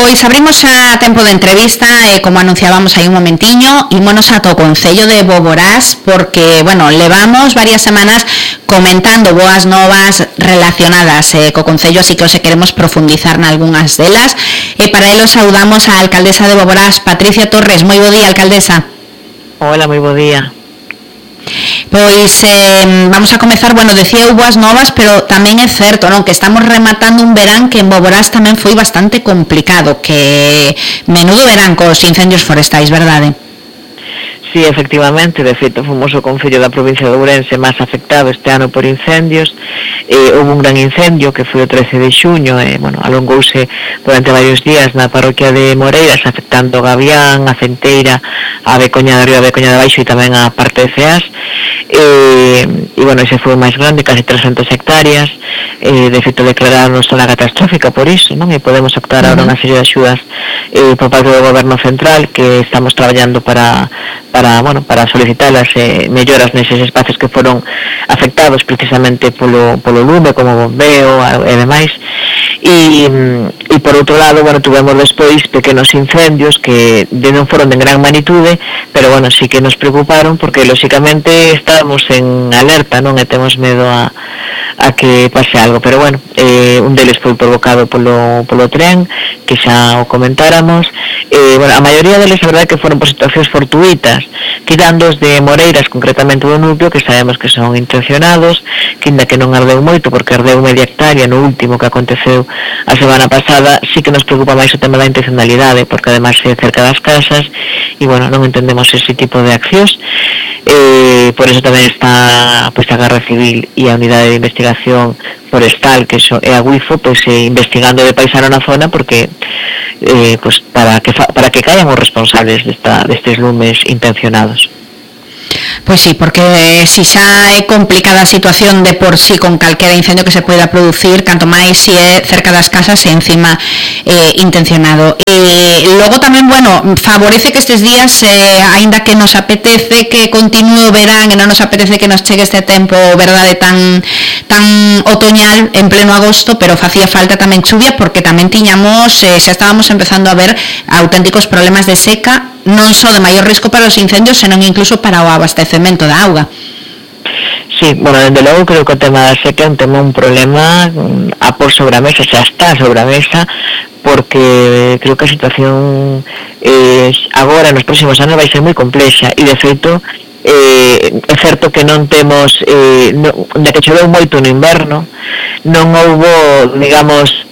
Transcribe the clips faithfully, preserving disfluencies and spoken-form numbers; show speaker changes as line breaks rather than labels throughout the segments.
Pois abrimos a tempo de entrevista e, como anunciábamos aí un momentiño, ímonos ata o Concello de Boborás porque, bueno, levamos varias semanas comentando boas novas relacionadas eh, co Concello, así que hoxe queremos profundizar nalgunhas delas. E para elo saudamos a alcaldesa de Boborás, Patricia Torres. Moi bo día, alcaldesa.
Hola, moi bo día.
Pois eh, vamos a comezar, bueno, decía boas novas, pero tamén é certo, non, que estamos rematando un verán que en Boborás tamén foi bastante complicado, que menudo verán cos incendios forestais, verdade?
Sí, efectivamente, de feito fomos o Concello da provincia de Ourense máis afectado este ano por incendios. Eh, houve un gran incendio que foi o trece de xuño e, eh, bueno, alongouse durante varios días na parroquia de Moreiras, afectando Gavián, a Centeira, a Becoña de Río, a Becoña de Baixo e tamén a parte de Ceás. E, e bueno, ese foi o máis grande, casi trescentas hectáreas. Eh, de feito declararon zona catastrófica por iso, non? E podemos optar agora unha serie de axudas eh, por parte do Goberno Central, que estamos traballando para para, bueno, para solicitalas eh, melloras neses espacios que foron afectados precisamente polo, polo lume, como bombeo e demais. E, e por outro lado, bueno, tuvemos despois pequenos incendios que non foron de gran magnitude, pero bueno, sí que nos preocuparon porque lóxicamente estábamos en alerta, non? E temos medo a, a que pase algo, pero bueno, eh, un deles foi provocado polo, polo tren, que xa o comentáramos. Eh, bueno, a maioría deles, a verdade, que foron por situacións fortuitas, tirando os de Moreiras, concretamente do núcleo, que sabemos que son intencionados, que ainda que non ardeu moito, porque ardeu media hectárea no último que aconteceu a semana pasada, sí que nos preocupa máis o tema da intencionalidade, porque ademais é cerca das casas, e bueno, non entendemos ese tipo de accións. Eh, por eso tamén está pois, a Garda Civil e a Unidade de Investigación Forestal, que so, é a UIFO, pois, eh, investigando de paisano na zona, porque eh, pois, para que fa, para que caian os responsables desta, destes lumes intencionados.
Pois sí, porque si xa é complicada a situación de por sí con calquera incendio que se poida producir, canto máis si é cerca das casas e encima eh, intencionado. E logo tamén, bueno, favorece que estes días, eh, aínda que nos apetece que continúe o verán e non nos apetece que nos chegue este tempo, verdade, tan tan otoñal en pleno agosto, pero facía falta tamén chuvia porque tamén tiñamos, eh, xa estábamos empezando a ver auténticos problemas de seca, non só de maior risco para os incendios, senón incluso para o abastecemento da auga.
Sí, bueno, desde logo creo que o tema da seca é un tema, un problema a por sobre a mesa, xa está sobre a mesa, porque creo que a situación eh, agora nos próximos anos vai ser moi complexa e de feito eh, é certo que non temos eh, no, de que choveu moito no inverno, non houbo, digamos,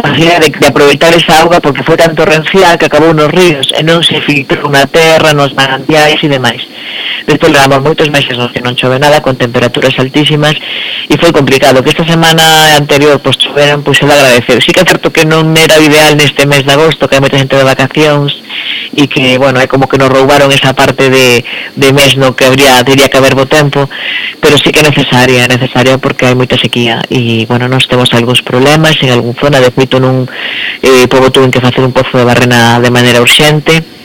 de, de aproveitar esa auga porque foi tan torrencial que acabou nos ríos e non se filtrou na terra, nos manantiais e demais. Despois levamos moitos meses nos que non chove nada, con temperaturas altísimas, e foi complicado. Que esta semana anterior pois choveran, pois se de agradecer. Sí que é certo que non era ideal neste mes de agosto, que hai moita xente de vacacións e que, bueno, é como que nos roubaron esa parte de, de mes no que habría, diría que haber bo tempo, pero sí que é necesaria, é necesaria porque hai moita sequía e, bueno, nós temos algúns problemas en algún zona, de feito nun eh, pobo tuven que facer un pozo de barrena de maneira urxente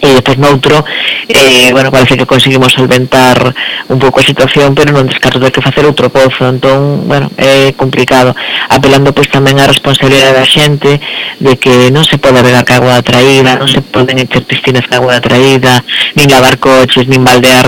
e depois noutro, eh, bueno, parece que conseguimos solventar un pouco a situación, pero non descarto de que facer outro pozo, entón, bueno, é complicado, apelando pois tamén á responsabilidade da xente de que non se pode regar ca agua da traída, non se poden echar piscinas ca agua da traída, nin lavar coches, nin baldear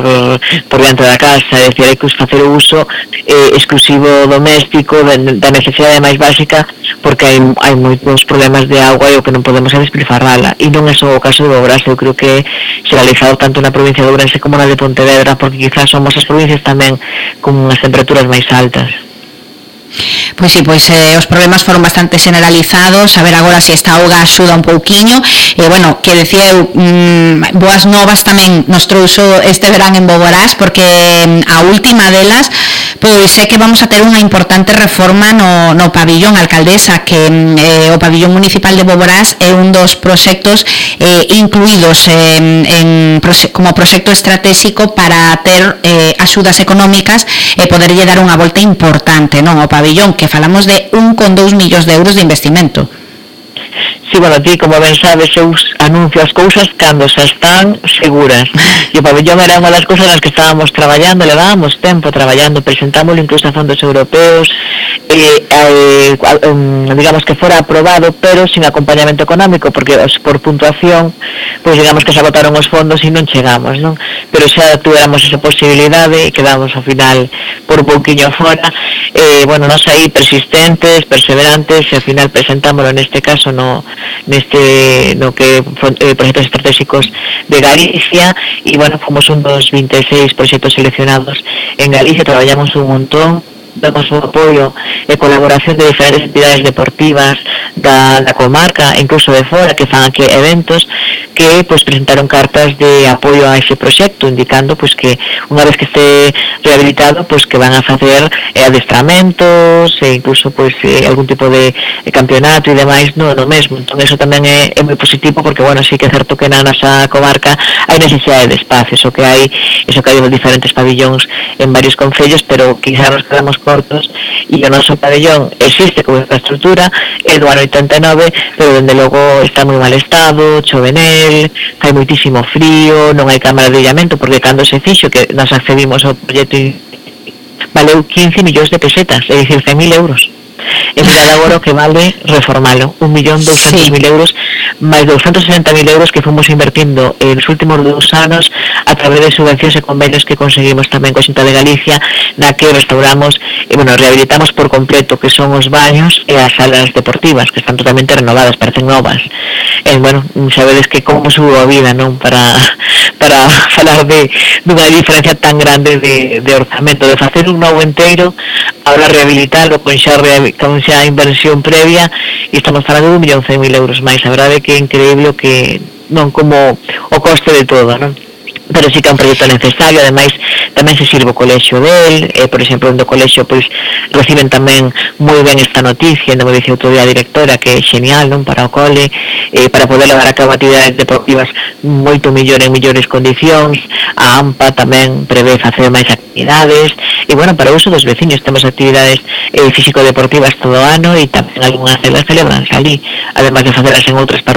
por dentro da casa, é dicir, hai que facer o uso eh, exclusivo doméstico da necesidade máis básica, porque hai, hai moitos problemas de agua e o que non podemos é despilfarrala, e non é só o caso de Boborás, eu creo que xeralizado tanto na provincia de Ourense como na de Pontevedra, porque quizás somos as provincias tamén con as temperaturas máis altas.
Pois sí, pois eh, os problemas foron bastante generalizados, a ver agora se esta auga axuda un pouquiño, e eh, bueno, que decía eu, mm, boas novas tamén nos trouxo este verán en Boborás, porque mm, a última delas, pois é que vamos a ter unha importante reforma no, no pabillón, alcaldesa, que eh, o pabillón municipal de Boborás é un dos proxectos eh, incluídos eh, en, como proxecto estratégico para ter eh, axudas económicas e poderlle dar unha volta importante, non, ao pabillón, que falamos de un con dous millóns de euros de investimento.
Sí, sí, bueno, ti, como ben sabes, eu anuncio as cousas cando xa están seguras. E o pabellón era unha das cousas nas que estábamos traballando, levábamos tempo traballando, presentámoslo incluso a fondos europeos, eh, eh, digamos que fora aprobado, pero sin acompañamento económico, porque por puntuación, pois digamos que se agotaron os fondos e non chegamos, non? Pero xa tuéramos esa posibilidade e quedamos ao final por un pouquiño fora. Eh, bueno, nos aí persistentes, perseverantes, e ao final presentámoslo neste caso no neste no que eh, proxectos estratégicos de Galicia, e bueno, fomos un dos vinte e seis proxectos seleccionados en Galicia. Traballamos un montón, damos un apoio e colaboración de diferentes entidades deportivas da, da comarca, incluso de fora, que fan aquí eventos, que pues presentaron cartas de apoio a ese proxecto, indicando pues que unha vez que este rehabilitado, pues que van a facer eh, adestramentos e incluso pues eh, algún tipo de, de campeonato e demais no, no mesmo. Entón eso tamén é, é moi positivo, porque bueno, sí que é certo que na nosa comarca hai necesidade de espacios, o que hai, eso que hai diferentes pabillóns en varios concellos, pero quizá nos quedamos cortos, e o noso pabellón existe como infraestructura, é do ano oitenta e nove, pero dende logo está moi mal estado, chove nel, hai moitísimo frío, non hai cámara de illamento, porque cando se fixo que nos accedimos ao proxecto valeu quince millóns de pesetas, é dicir, cen mil euros. E mirad agora o que vale reformalo, un millón douscentos mil euros, máis douscentos sesenta mil euros que fomos invertindo en os últimos dous anos a través de subvencións e convenios que conseguimos tamén coa Xunta de Galicia, na que restauramos e, bueno, rehabilitamos por completo que son os baños e as salas deportivas, que están totalmente renovadas, parecen novas. E, bueno, sabedes que como subo a vida, non? Para para falar de dunha diferencia tan grande de, de orzamento, de facer un novo enteiro, ahora rehabilitarlo con xa, con xa inversión previa, e estamos falando de un millón cen mil euros máis. A verdade é que é increíble que non como o coste de todo, non? Pero sí que é un proxecto necesario. Ademais tamén se sirve o colexio del, eh, por exemplo, do colexio pois reciben tamén moi ben esta noticia, non me dice outro día a directora, que é genial, non, para o cole, eh, para poder levar a cabo actividades deportivas moito mellor en mellores condicións. A AMPA tamén prevé facer máis actividades, e bueno, para o uso dos veciños temos actividades eh, físico-deportivas todo o ano, e tamén algunhas delas celebranse ali, además de facelas en outras parroquias